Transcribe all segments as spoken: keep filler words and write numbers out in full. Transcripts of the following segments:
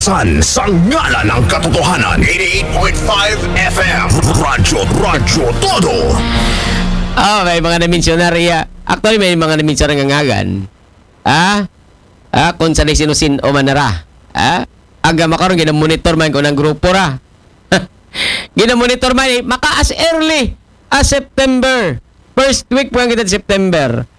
San sa ngalan ng katotohanan, eighty-eight point five F M, Radyo, Radyo Todo. Oh, may mga naminsyonar iya. Actually, may mga naminsyonar nga ngagan. Ah? Ah, kung sa sino-sino man nara. Ah? Aga makaron, ginamonitor man ko ng grupo ra. Ginamonitor man, eh, maka as early as September. First week pa kita September.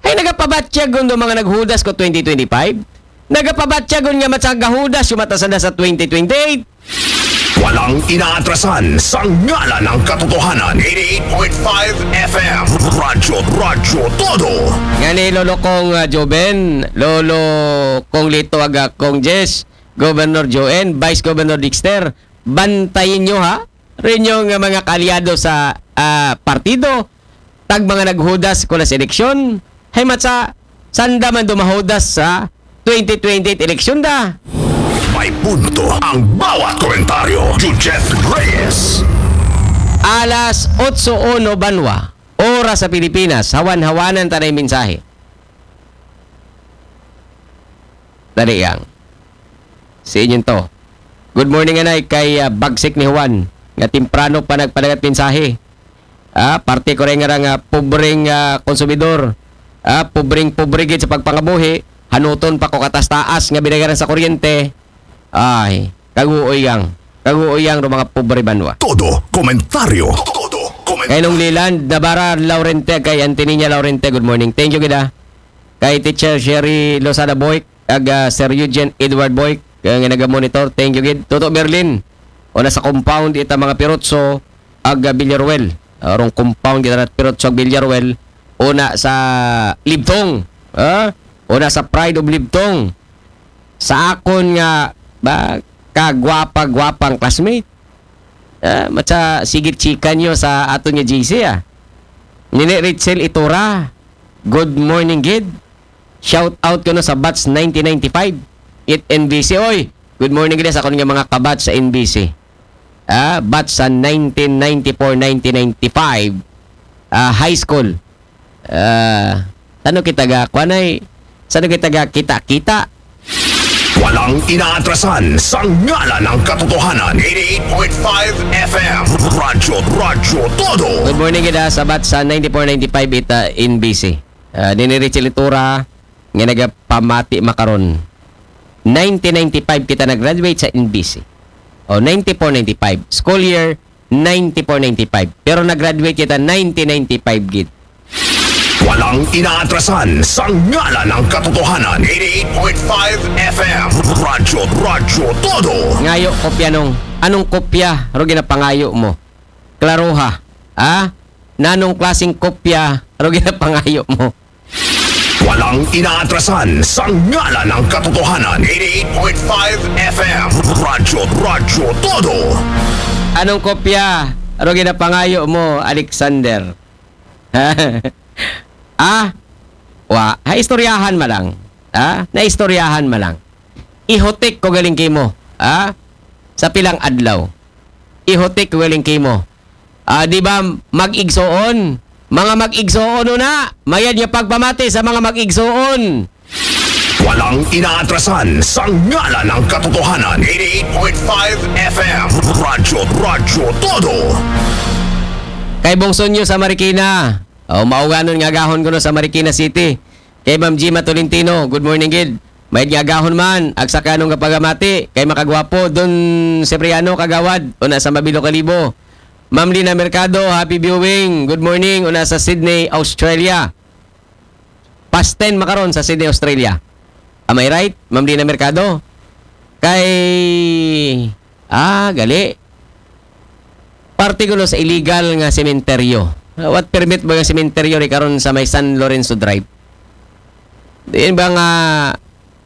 Ay, nagapabatyagon do mga naghudas ko twenty twenty-five. Nagapabatyagon nga matsagahudas yung matasanda sa twenty twenty-eight. Walang inaatrasan sa ngalan ng katotohanan, eighty-eight point five F M, Radyo, Radyo Todo. Nga ni Lolo Kong uh, Joven, Lolo Kong Lito Aga, Kong Jess, Governor Joen, Vice Governor Dexter, bantayin nyo ha, rin yung uh, mga kaalyado sa uh, partido, tag mga naghudas ko na sa eleksyon, hay matsa, sanda man dumahudas sa twenty twenty-eight eleksyon da. May punto ang bawat komentaryo. Jujeth Reyes. Alas otso uno banwa, oras sa Pilipinas, hawan-hawanan tanay mensahe. Dali yang. Si inyong to. Good morning, anay, kay uh, Bagsik ni Juan, nga timprano pa nagpadagat mensahe. Ah, parte ko rin nga nga pobreng uh, konsumidor. Ah, pobreng pobre gid sa pagpangabuhi, hanuton pa ko katas-taas nga binayaran sa kuryente. Ay, kaguoy yang. Kaguoy yang do mga pobre banwa. Todo komentaryo. Todo komentaryo. Kay nung Liland, Nabara Laurente, kay Antiniña Laurente, good morning. Thank you gid ah. Kay Teacher Sherry Lozada Boyk, ag uh, Sir Eugene Edward Boyk, uh, nga naga-monitor. Thank you gid. Toto Berlin, una sa compound ita mga Pirotso, ag uh, Villaruel. Arong compound kita rat Pirotso ag Villaruel, una sa Libtong. Ha? Una sa Pride of Libtong. Sa akon nga ba, kagwapa-gwapang classmate. Ah, matsa sigit chika nyo sa aton nga G C ah. Nini Rachel Itura. Good morning gid. Shout out ko no sa batch nineteen ninety-five. It N B C. Oy, good morning gid sa akon nga mga kabatch sa N B C. Ah, batch sa nineteen ninety-four, nineteen ninety-five. Ah, high school. Ah, sano kita ga, kwanay, sano kita ga kita-kita? Walang inaatrasan sa ngalan ng katotohanan. Eighty-eight point five F M. Radyo, Radyo Todo. Good morning kita sa batch sa ninety-four ninety-five ita N B C. Uh, nini Richie Litura nga nagapamati makaron. Nineteen ninety-five kita nag-graduate sa N B C. O nineteen ninety-five. School year ninety-four ninety-five. Pero nag-graduate kita nineteen ninety-five gid. Walang inaatrasan sa ngalan ng katotohanan. Eighty-eight point five F M. Radyo, Radyo Todo. Ngayo kopya nung, anong kopya ro ginapangayo mo? Klaruha. Ha? Nanong klaseng kopya ro ginapangayo mo? Walang inaatrasan sa ngalan ng katotohanan. Eighty-eight point five F M. Radyo, Radyo Todo. Anong kopya ro ginapangayo mo, Alexander? Ah? Wa, ha istoryahan ma lang. Ha? Naistoryahan ma lang. Ihotik ko galing kimo. Ha? Sa pilang adlaw. Ihotik ko galing kimo. Ah, di ba mag-igsoon? Mga mag-igsoon na, mayad nga pagpamati sa mga mag-igsoon. Walang inaatrasan sa ngalan ng katotohanan. Eighty-eight point five F M. Radyo, Radyo Todo. Kay Bongso nyo sa Marikina. O, mauganon nga agahon ko no sa Marikina City. Kay Ma'am Gima Tolentino, good morning gid. May agahon man, ag sa kanong kapagamati, kay makagwapo, Don Cipriano Kagawad, una sa Mabilo Kalibo. Ma'am Lina Mercado, happy viewing. Good morning, una sa Sydney, Australia. Past ten makaron sa Sydney, Australia. Am I right, Ma'am Lina Mercado? Kay, ah, gali. Parte ko no sa illegal nga sementeryo. What permit ba nga sementeryo ri karon sa may San Lorenzo Drive? Diin ba nga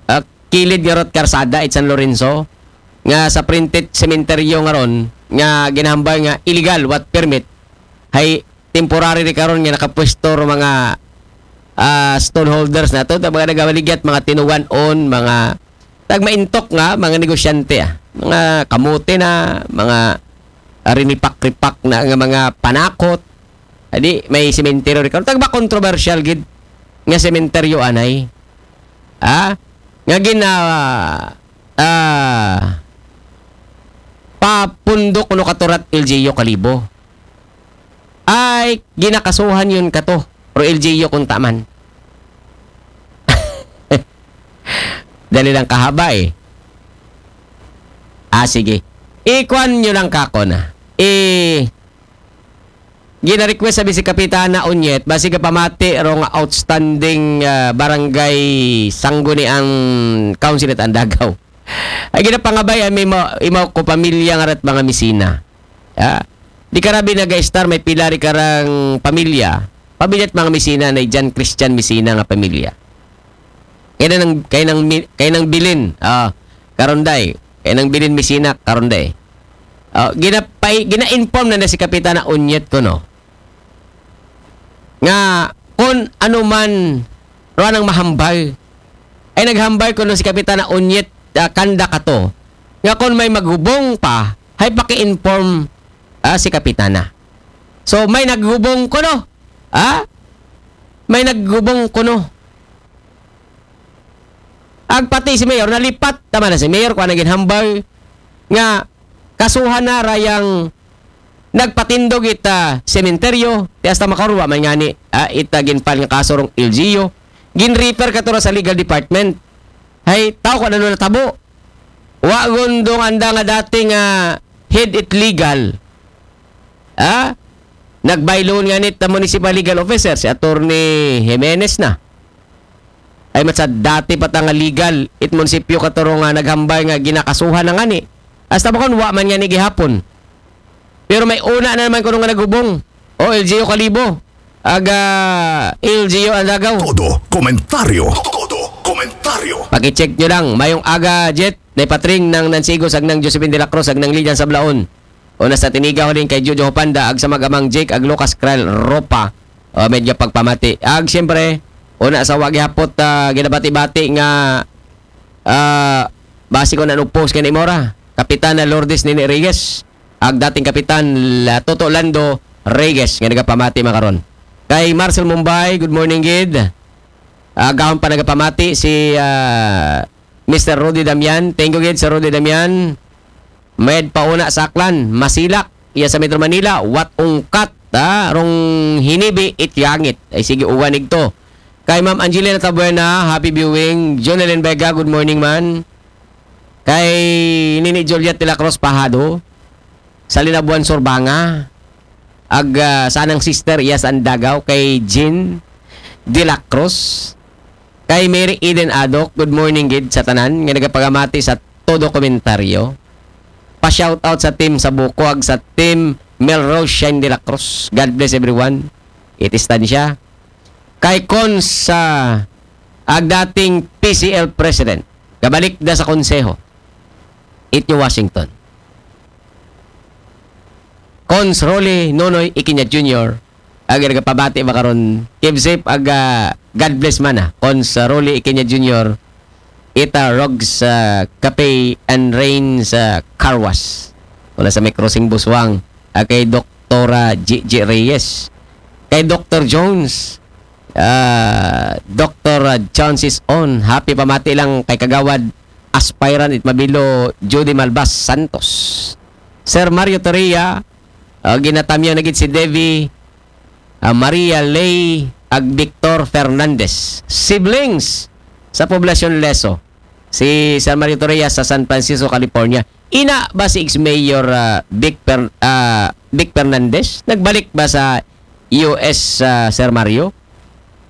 ah, kilid nga rot karsada it San Lorenzo nga sa printed sementeryo nga ron nga ginahambal nga illegal, what permit, hay temporary ri karon nga nakapwesto ro mga ah, stoneholders nato, ta mga nagawaligyat, mga tinugan-on, mga tagmaintok nga mga negosyante, ah. Mga kamote na, mga ah, rinipak-ripak na nga mga panakot. Adi, may sementeryo ri karon. Tagba controversial gid nga sementeryo anay. Ah? Nga gina ah, papundok kuno kato rat L G U Kalibo. Ay, ginakasuhan yun kato. Pero L G U kung taman. Dali lang kahaba eh. Ah, sige. Ikuan nyo lang kako na. Eh, gina-request sabi si Kapitana Unyet, basi gapamati ro nga outstanding ah, barangay sangguniang council it Andagaw. Ay ginapangabay ay may ma- imaw ko pamilya nga rat mga misina. Ah, di karabi naga-star may pila ri karang pamilya. Pamilya at mga misina na Jan Christian Misina nga pamilya. Kaya nang, kaya nang, mi- kaya nang bilin, ah, karonday. Kaya nang bilin Misina, karonday. Ah, gina, gina-inform na na si Kapitana Unyet ko, no? Nga, kung ano man, ruan ang mahambal. Ay naghambal ko no si Kapitana Unyet ah, kanda kato. Nga kung may maghubong pa, hay paki-inform ah, si Kapitana. So, may naghubong ko no? Ha? May naghubong ko no? Agpati si Mayor, nalipat tama na si Mayor, kung naging hambal nga kasuhan na rayang nagpatindog ita sementeryo, ti hasta makaruwa man ngani, ah, ita ginfile nga kaso rong L G U, ginrefer kato ra sa legal department. Hay, tao ko ano natabo. Wa gundong anda nga dati nga head it legal. Ah? Nagbayloon nga nit municipal legal officer si Attorney Jimenez na. Ay matsa dati pa ta nga legal it munisipyo katuro nga naghambal nga ginakasuhan na ngani. Hasta ba kun wa man ngani gihapon. Pero may una na naman kuno nga naghubong. O L G U Kalibo. Aga L G U Andagaw. Todo komentaryo. Todo komentaryo. Pakicheck nyo lang. Mayong aga, Jet. Nay patring ng Nansigo, sagnang Josephine de la Cruz, sagnang Lilian Sablaon. Una sa tiniga ko din kay Jojo Hopanda, ag sa magamang Jake, ag Lucas Kral Ropa. O, medyo pagpamati. Ag siyempre, una sa wagi hapot, ah, ginabati-bati nga, ah, basi ko na nupos kay Imora. Kapitana Lourdes Nini Reyes. Ag dating kapitan la Toto Lando Reyes nga nagapamati makaron. Kay Marcel Mumbai, good morning gid. Agahon pa nagapamati si ah, Mister Rudy Damian. Thank you gid sa Rudy Damian. Med pauna sa Aklan, Masilak, iya sa Metro Manila, wat ungkat, ha? Rong hinibi it yangit. Ay sige, uwan igto. Kay Ma'am Angelina Tabuena, happy viewing. Jonelyn Vega, good morning man. Kay Nini Juliet de la Cruz Pahado, sa Linabuan Surbanga, ag ah, sanang sister iya sa Andagaw, kay Jean de la Cruz, kay Mary Eden Adok, good morning gid sa tanan nga nagapagamati sa todo komentaryo. Pa-shoutout sa team sa Buko ag sa team Melrose Shine de la Cruz. God bless everyone. It is Tansya. Kay Cons sa ag dating P C L President. Kabalik da sa konseho. It New Washington. Cons Rolly Nonoy Ikinya Junior, ag nagapabati makaron, keep safe, ag ah, God bless man ah. Cons Rolly Ikinya Junior, ita Rogs ah, Cafe and Rain sa Carwas. Wala sa may crossing Buswang. Ah, kay Doktora G G Reyes. Kay Doktor Jones. Ah, Doktor Chances On. Happy pamati lang kay Kagawad Aspirant it Mabilo Judy Malbas Santos. Sir Mario Torria, ah, ginatamyaw na gid si Devi, ah, Maria Ley, ag Victor Fernandez. Siblings sa Poblacion Leso. Si Sir Mario Torria sa San Francisco, California. Ina ba si ex-mayor ah, Vic, Fer- ah, Vic Fernandez? Nagbalik ba sa U S ah, Sir Mario?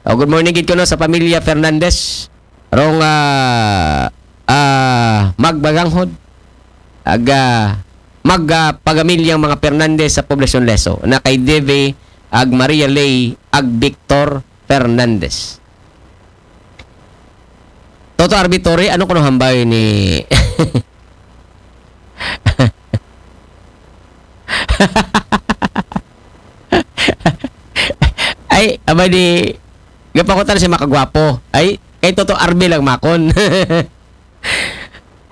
Oh, good morning gid kuno sa pamilya Fernandez. Rong ah, ah, magbaganghod. Ag ah, mag ah, pagamilyang mga Fernandez sa Poblacion Leso. Na kay Deve, ag Maria Ley, ag Victor Fernandez. Toto Arbitore, ano kuno hambay ni Ay, abay di gapakutan si makagwapo. Ay, kay Toto Arbe lang makon.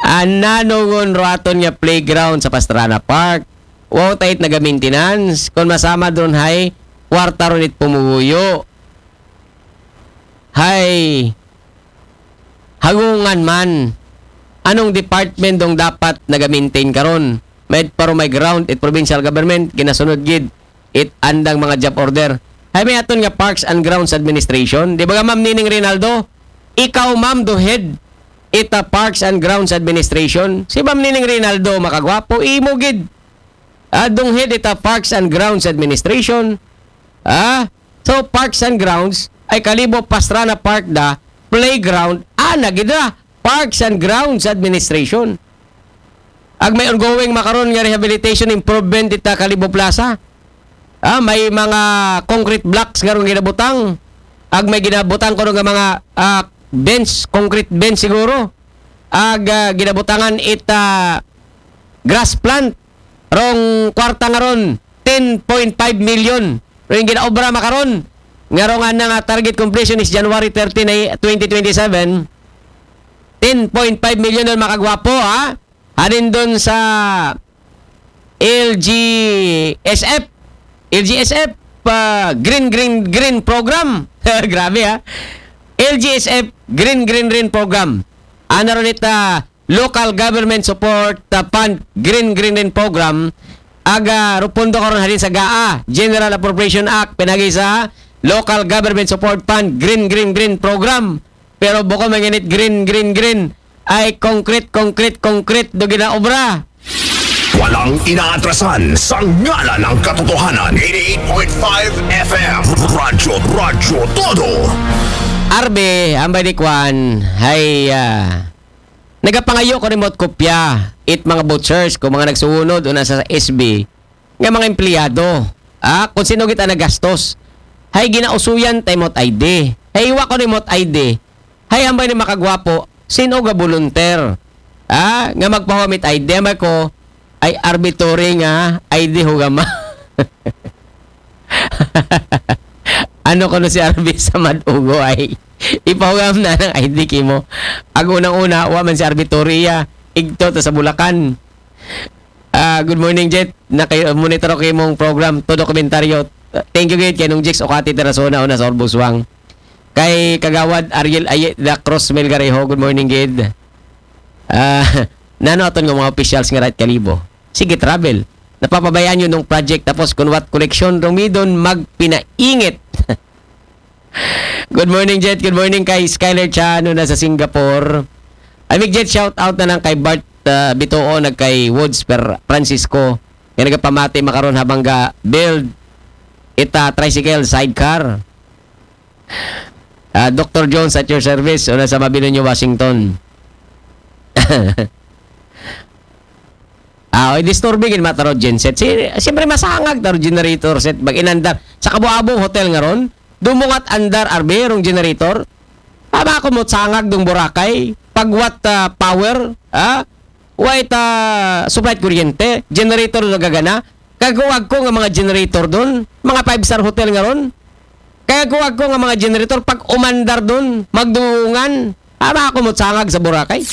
Ananongon raton nga playground sa Pastrana Park. Wow, tait naga-maintenance. Kung masama doon, hay, kwarta ron it pumuguyo. Hay, hagungan man. Anong department dong dapat naga-maintain karon? May, pero may ground it provincial government, ginasunod gid it andang mga job order. Hay may aton nga Parks and Grounds Administration. Di ba nga, Ma'am Nining Rinaldo? Ikaw, ma'am, do head ita Parks and Grounds Administration. Si Ma'am Nining Rinaldo, makagwapo, imo gid. Ah, dong head ita Parks and Grounds Administration. Ah, so Parks and Grounds ay Kalibo Pastrana Park da, playground, ah, nagidra. Parks and Grounds Administration. Ag may ongoing makaron nga rehabilitation improvement ita Kalibo Plaza. Ah, may mga concrete blocks nga ron ginabutang. Ag may ginabutang ko nga mga ah, bench, concrete bench siguro. Ag ah, ginabutangan ita grass plant. Rong kwarta nga ron, ten point five million. Rong ginaobra makaron. Nga ron nga nga target completion is January thirteen ay twenty twenty-seven. ten point five million don, makagwapo, ha? Hanin don sa L G S F. L G S F, ah, Green, Green, Green Program. Grabe, ha? L G S F, Green, Green, Green Program. Ana ron ita Local Government Support, ah, Fund, Green, Green, Green Program. Aga, rupondo karon hanin sa GAA, General Appropriation Act, pinagi sa Local Government Support Fund, Green, Green, Green Program. Pero bako manginit green, green, green. Ay, concrete, concrete, concrete, do ginaobra. Walang inaatrasan sa ngalan ng katotohanan. eighty-eight point five F M. Radyo, Radyo Todo. Arbe, ambay ni Kwan, hay, ah, nagapangayo ko remote kopya, it mga vouchers, kung mga nagsuhunod, una sa S B, nga mga empleyado. Ah, kung sino kita nagastos. Hay ginausuyan tay mot I D. Hay iwa ko ni mot I D. Hay ambay ni makagwapo, sino ga volunteer. Ah, nga magpahumit I D, ambay ko, ay arbitrary nga I D hugama. Ano ko no si Arby sa Madugo ay ipahugam na ng I D kimo. Ag unang-una, wa man si Arby Torre iya. Igto ta sa Bulacan. Ah, good morning, Jet. Naka-monitor ko imong program. Todo komentaryo. Thank you, Gid. Kay nung Jix Okati Terasona, una sa Orbuswang. Kay Kagawad Ariel Aye, the Cross Melgarejo. Good morning, Gid. Ah, nano aton nga mga officials nga right kalibo. Sige, travel. Napapabayaan nyo nung project tapos kunwat koleksyon, rumidon, magpinaingit. Good morning, Jet. Good morning kay Skyler Chan, una sa Singapore. Amig Jet, shout out na lang kay Bart uh, Bituo, nag kay Woods per Francisco. Nga nagapamati makaron habang ga build ita tricycle sidecar. Uh, Doctor Jones at your service, una sa Mabinonyo, Washington. Ah, oy, disturbing in matter of genset. Si, siyempre, masangag taro generator set. Mag-inandar. Sa Kabuabong Hotel nga ron, dumungat andar arbe rong generator. Tama ko mo sangag dung Boracay. Pagwat ah, power, ha? Wa ita supply kuryente, generator na gagana. Kagawag ko nga mga generator doon, mga five-star hotel nga ron. Kaya kuwag ko nga mga generator pag umandar doon, magdungan. Para ako mo sangag sa Boracay.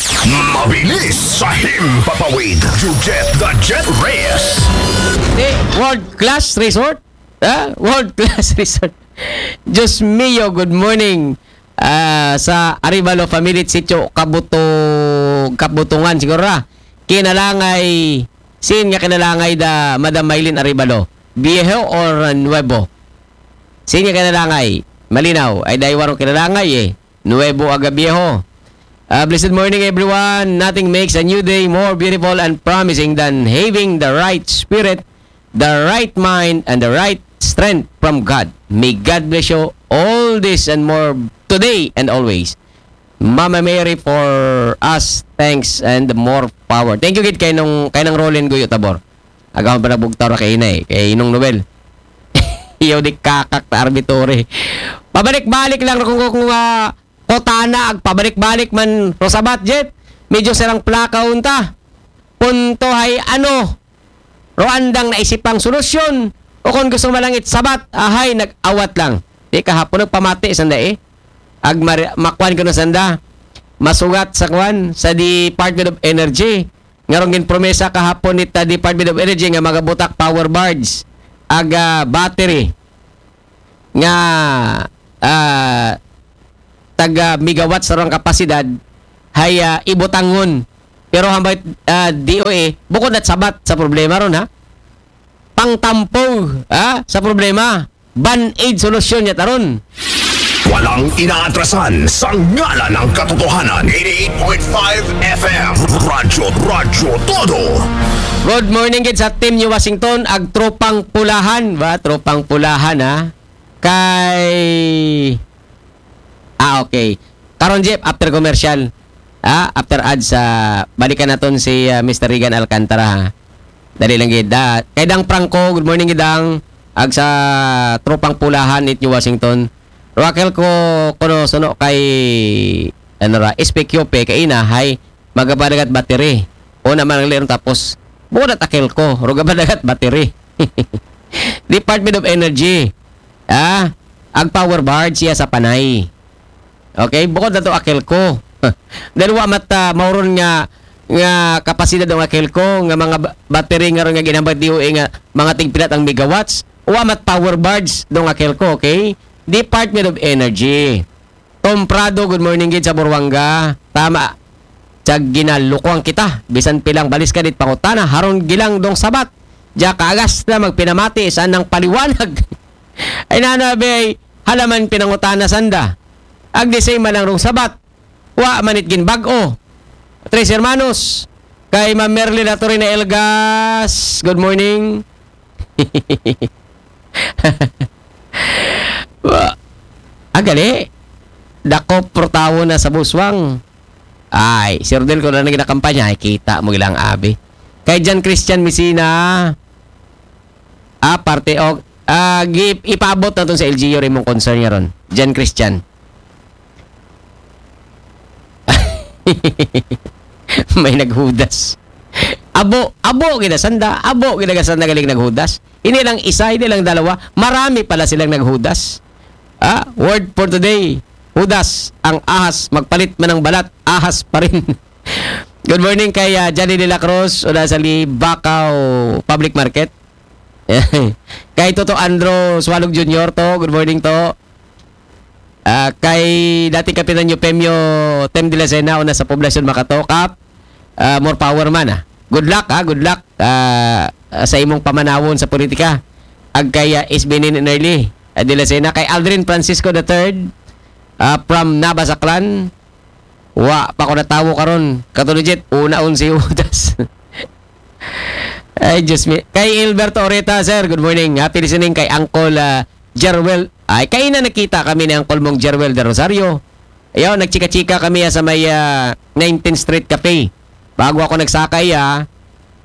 Mabilis sa Himpapawid. Jujet the Jet Reyes. Di, world class resort. Ha? World class resort. Diyos mio, good morning. Ah, sa Arevalo family, sitio Kabutog, Kabutungan siguro ra. Kinalangay, sin nga kinalangay da Madam Mylene Arevalo. Viejo or Nuevo? Sin nga kinalangay? Malinaw, ay daywa rong kinalangay eh. Nuevo aga Viejo. Ah, blessed morning, everyone. Nothing makes a new day more beautiful and promising than having the right spirit, the right mind, and the right strength from God. May God bless you all this and more today and always. Mama Mary for us, thanks and more power. Thank you gid kay nung kay nang Roland Guyo Tabor. Agaw pa nagbugtaw ra kay inay, kay Inong Nobel. Iyo di kakak ta arbitore. Pabalik-balik lang kung kung uh, Kotana ag pabalik-balik man Rosabat Jet. Medyo sirang plaka unta. Punto hay ano? Roandang naisipang solusyon o kung gusto malangit sabat, ahay nag-awat lang. Di kahapon nagpamati sanda eh. Ag mar- makwan ko na sanda. Masugat sa kwan sa Department of Energy. Nga rong ginpromesa kahapon nita Department of Energy nga magabutak power barge aga battery nga ah, taga megawatt sa rong kapasidad hay ah, ibutangon Pero hambay, ah, D O A, bukod na Sabat sa problema ron, ha? Pangtampo, ha? Sa problema. Band-aid solusyon niya taron. Walang inaatrasan sa ngalan ng katotohanan. eighty-eight point five F M. Radyo, Radyo Todo. Good morning gid sa team New Washington, ag tropang pulahan ba? Tropang pulahan, ha? Kay... Ah, okay. Karon, Jeff, after commercial, ah, after ads, ah, balikan naton si ah, Mister Regan Alcantara, ha? Dali lang gid. Ah, kay Dang Franco, good morning gid, Dang. Ag sa tropang pulahan it New Washington. Raquel ko, kuno suno kay, ano ra, S P Q P, kay ina, hay, magabadagat battery. O naman ang liron tapos, buo na takil ko, rugabadagat battery. Department of Energy. Ah, ag power barge siya sa Panay. Okay, bukod na to akil ko. Dahil wa mat ah, mauron nga nga kapasidad ng akil ko nga mga ba- battery nga ron nga ginamit D O A nga mga tigpilat ang megawatts, wa mat power barge dong akil ko, okay? Department of Energy. Tom Prado, good morning gid sa Buruanga. Tama. Tiyag ginalukuan kita. Bisan pilang balis ka dit pangutana, haron gilang dong Sabat. Diya kaagas na magpinamati sa nang paliwanag. Ay nana, be, halaman pinangutana sanda. Ag the same man ang rong Sabat. Wa manit gin bag-o. Tres Hermanos. Kay Ma'am Merlin Atorina Elgas. Good morning. Wa. Agali. Dako portawo na sa buswang. Ay, si Rodel ko na nang ginakampanya. Ay, kita mo ilang abi. Kay Jan Christian Messina. Ah, parte o ah, gi- ipaabot naton sa L G U rin mong concern niya ron. Jan Christian. May naghudas. Abo, abo gina sanda, abo gina sanda galing naghudas. Hindi lang isa, hindi lang dalawa. Marami pala silang naghudas. Ah, word for today. Hudas, ang ahas, magpalit man ng balat, ahas pa rin. Good morning kay ah, Johnny De La Cruz, una sa Libacao Public Market. Kay Toto Andro Swalog Junior to, good morning to. Ah, kay dating kapitan niyo Pemio Tem de la Sena, una sa Poblacion Makato, Kap, ah, more power man, ah. Good luck, ah, good luck ah, ah, sa imong pamanawon sa politika. Ag kay ah, S B Nin Early ah, de la Sena, kay Aldrin Francisco the third, ah, from Nabasaklan. Wa pa ko natawo karon. Katulad jet, una un si Judas. Ay, Diyos mi. Kay Alberto Oreta, sir, good morning. Happy listening kay Uncle ah, Jerwel. Ay, kaina nakita kami ni Uncle mong Jerwel de Rosario. Ayaw, nagchika-chika kami ah, sa may ah, nineteenth Street Cafe. Bago ako nagsakay, ah,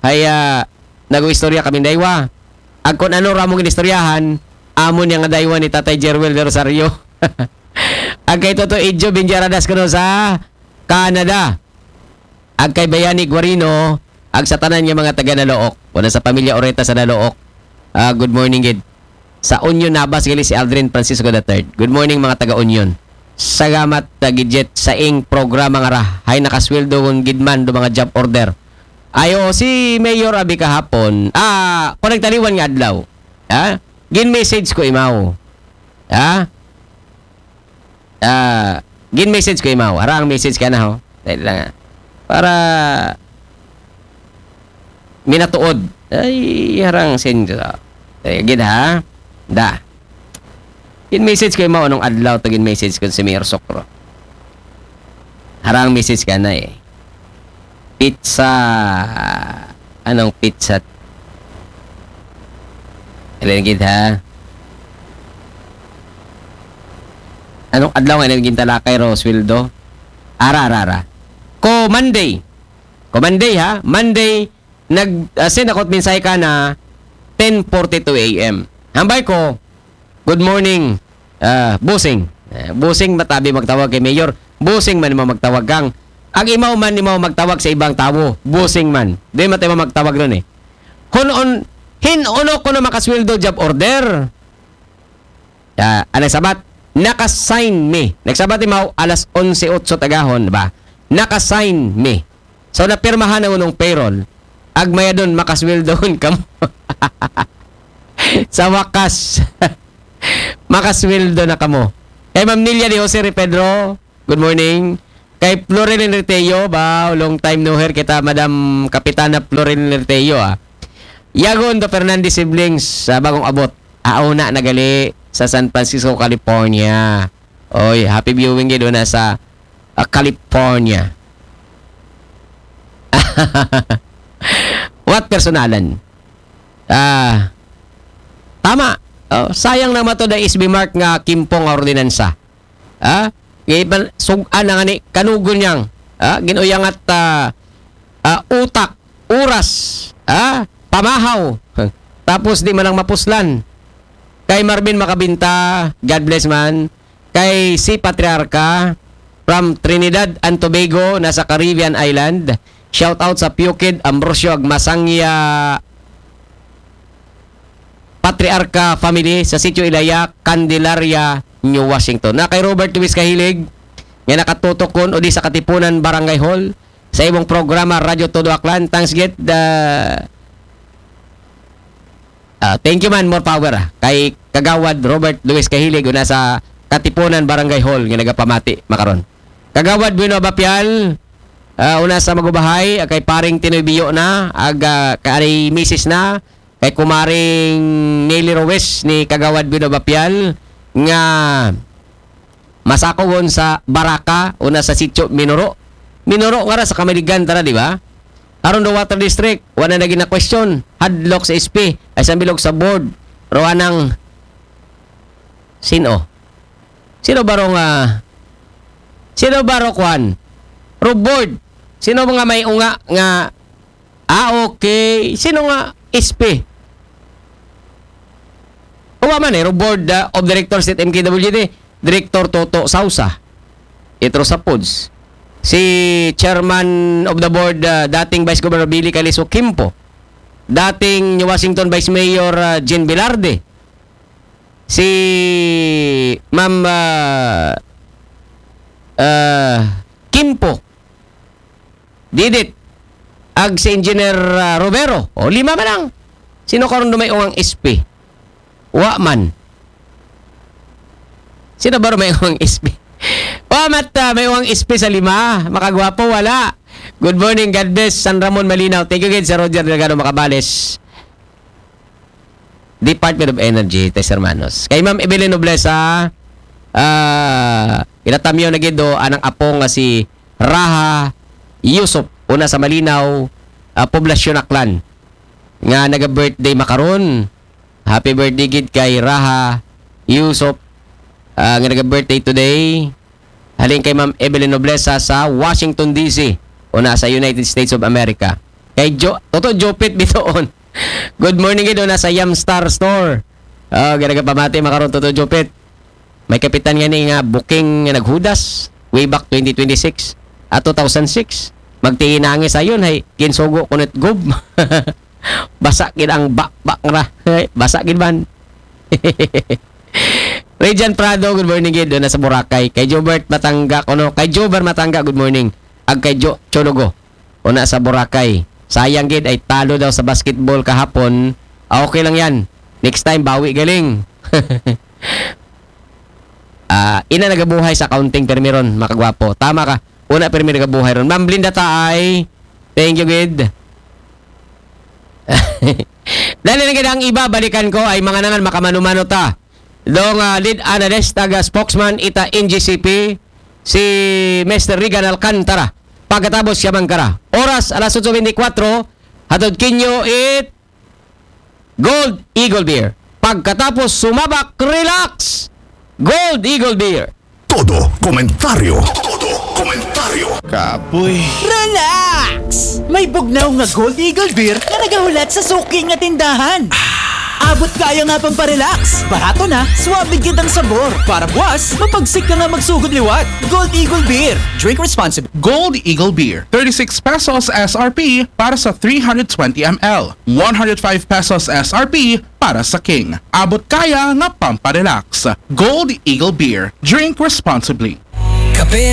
ay ah, nag-istorya kami daywa. Ag kung ano ramong inistoryahan, amo niya nga daywa ni Tatay Jerwel de Rosario. Ag kay Toto Idjo Binjaradas kuno sa Canada. Ag kay Bayani Guarino, ag sa tanan nga mga taga Nalook. Wala sa pamilya Oreta sa Nalook. Ah, good morning gid. Sa Union Nabas gali si Aldrin Francisco the third. Good morning mga taga Union. Salamat ta gid jet sa ing programa nga ra. Hay nakasweldo kun gid man do mga job order. Ayo si Mayor abi kahapon. Ah, kung nagtaliwan nga adlaw. Ha? Gin message ko imaw. Ha? Ah, gin message ko imaw. Ara ang message ka na ho. Dali lang ha. Para minatuod. Ay, harang send ko. Ay, gid ha. Da. Gin message ko imaw anong adlaw to gin message ko si Mayor Sokro. Harang message ka na eh. Pizza. Anong pizza? Alin gid ha? Anong adlaw nga naging talakay ro sweldo? Ara, ara, ara. Ko Monday. Ko Monday ha? Monday, nag uh, send ako mensahe ka na ten forty-two A M. Hambay ko, good morning, uh, bossing. Uh, bossing matabi magtawag kay Mayor. Bossing man mo magtawag kang. Ag imaw man imaw magtawag sa ibang tawo. Bossing man. Di man tayo magtawag nun eh. Hun-on, hin-uno ko na makasweldo job order. Ah, anay sabat, nakasign mi. Nagsabat imaw alas onse otso tagahon ba? Nakasign mi. So napirmahan ang unong payroll. Agmayadon makasweldohon kamo. Sa wakas, makasweldo na kamo. Kay Ma'am Nilia de Jose Ri Pedro, good morning. Kay Florin Enriteo, ba, long time no hear kita, Madam Kapitana Florin Enriteo, ah. Yagon to Fernandez Siblings, sa bagong abot. Auna nagali sa San Francisco, California. Oy, happy viewing gid una sa, ah, California. What personalan? Ah, tama. Oh, sayang na mato da S B Mark nga kimpo nga ordinansa. Ha? Kay ban-, sug-an na nga ni kanugon niyang, ha? Ginuyangat, ah, ah, utak, oras, ha? Pamahaw. Tapos di man lang mapuslan. Kay Marvin Makabinta, God bless man. Kay si Patriarca, from Trinidad and Tobago, nasa Caribbean Island. Shout out sa Pukid Ambrosio Agmasangya Patriarca family sa Sitio Ilaya, Candelaria, New Washington. Na kay Robert Luis Kahilig, nga nakatutok kon o di sa Katipunan Barangay Hall sa imong programa Radyo Todo Aklan. Thanks gid, ah, ah, thank you man, more power, ah. Kay Kagawad Robert Luis Kahilig una sa Katipunan Barangay Hall nga nagapamati makaron. Kagawad Bueno Abapial, ah, una sa Magubahay, ah, kay paring Tinoy Biyo na, ag, ah, kay misis na, kay kumaring Nelly Ruiz ni Kagawad Bueno Abapial, nga masakogon sa Baraka, una sa Sitio Minoro. Minoro nga ra sa Kamaligan tara, di ba? Aron do Water District, wala na gina-question. Hadlok sa S P, ay sa bilog sa board. Roanang, sino? Sino ba ro nga, sino ba ro kwan? Ro board. Sino mga may unga nga, ah, okay. Sino nga S P? Uwa man eh, ro board, ah, of directors at M K W D, Director Toto Sausa. Itro sa Pods. Si Chairman of the Board, ah, dating Vice Governor Billy Calizo Quimpo. Dating New Washington Vice Mayor, ah, Jean Velarde. Si Ma'am, ah, ah, Quimpo. Didit. Ag si Engineer, ah, Romero. O, lima man lang. Sino karon do may uwang S P? Wa man. Sino ba may uwang S P? Wa mat, ah, may uwang S P sa lima. Makagwapo, wala. Good morning, God bless, San Ramon Malinaw. Thank you gid sa Roger Delgado Macabales. Department of Energy, tres hermanos. Kay Ma'am Evelyn Noblesa, ah, ginatamyaw na gid do anang apo nga si Raha Yusuf, una sa Malinaw, ah, Poblasyon Aklan, nga naga-birthday makaron. Happy birthday gid kay Raha Yusuf, ah, nga naga-birthday today. Halin kay Ma'am Evelyn Noblesa sa Washington, D C, una sa United States of America. Kay Jo-, Toto Jopit Bitoon. Good morning gid una sa Yam Star Store. Ah, ganaga pamati makaron, Toto Jopit. May kapitan nga ni nga booking nga naghudas way back twenty twenty-six at two thousand six. Magtiinangi sayon, hay, kinsugo kunit gob. Basa gid ang bakbak ra. Hay, basa gid man. Regent Prado, good morning gid, doon na sa Boracay. Kay Jobert Matangga, kuno, kay Jover Matangga, good morning. Ag kay Jo Chologo, una sa Boracay. Sayang gid, ay talo daw sa basketball kahapon. Ah, okay lang yan. Next time, bawi galing. Ah, ina nagabuhay sa accounting, permi ron, makagwapo. Tama ka. Una, permi nagabuhay ron. Ma'am Blinda Taay, thank you gid. Dali na gid ang iba, balikan ko ay mga nangan, makamano-mano ta. Dong, ah, lead analyst, taga spokesman, ita N G C P, si Mister Regan Alcantara. Pagkatapos siya mangkara. Oras, alas otso bentikwatro, hatod kinyo it Gold Eagle Beer. Pagkatapos sumabak, relax. Gold Eagle Beer. Todo komentaryo. Todo komentaryo. Kapoy. Relax! May bugnaw nga Gold Eagle Beer nga nagahulat sa suki nga tindahan. Abot kaya nga pamparelax. Barato na, swabe gid ang sabor. Para buwas, mapagsik ka nga magsugod liwat. Gold Eagle Beer. Drink responsibly. Gold Eagle Beer, thirty-six pesos S R P para sa three hundred twenty M L, one hundred five pesos S R P para sa King. Abot kaya nga pamparelax. Gold Eagle Beer. Drink responsibly. Kape